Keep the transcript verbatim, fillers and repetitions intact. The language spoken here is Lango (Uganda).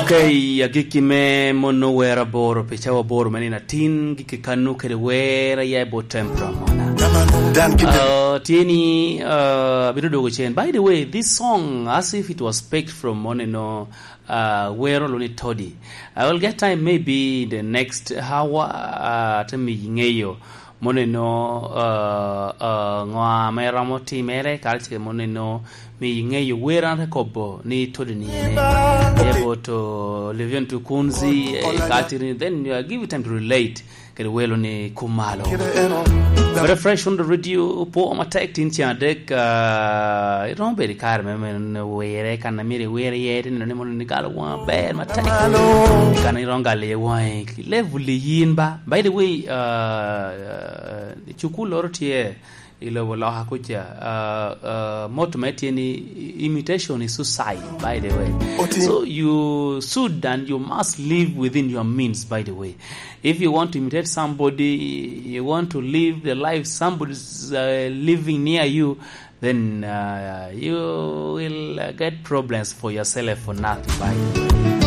Okay, agikki me mono wer aboro pi cawa aboro me nino atin, gikki kano kede wer aya i bot Tempura mona. Uh, tye ni, uh, abino dwogo cen. By the way, this song, as if it was picked from mono eno, uh, wero lo ni Toddy. I will get time maybe in the next hour, uh, te miyi ŋeyo. Mono eno, uh, uh, ŋo ame romo timere, kara ce mono eno, miyi ŋeyo wer an te kobo ni Toddy ni ene. Ebo to Livian to Kunzi, eh, ka tiri, then you give you time to relate. Kede welo ni kumalo. Very fresh on the radio, po matek tin cen adek, uh, iromo bedo i kare me, me, me were, kan amiri were ye, tin ni mono ni galo wang ber matek. Kan iromo galo ye wang, level yin ba. By the way, uh, uh, cukul loro tye i lobo loka kuca, uh, uh, motto me tye ni imitation is suicide, by the way. So you should and you must live within your means, by the way. If you want to imitate somebody, you want to live the life somebody's, uh, living near you, then, uh, you will, uh, get problems for yourself for nothing, by the way.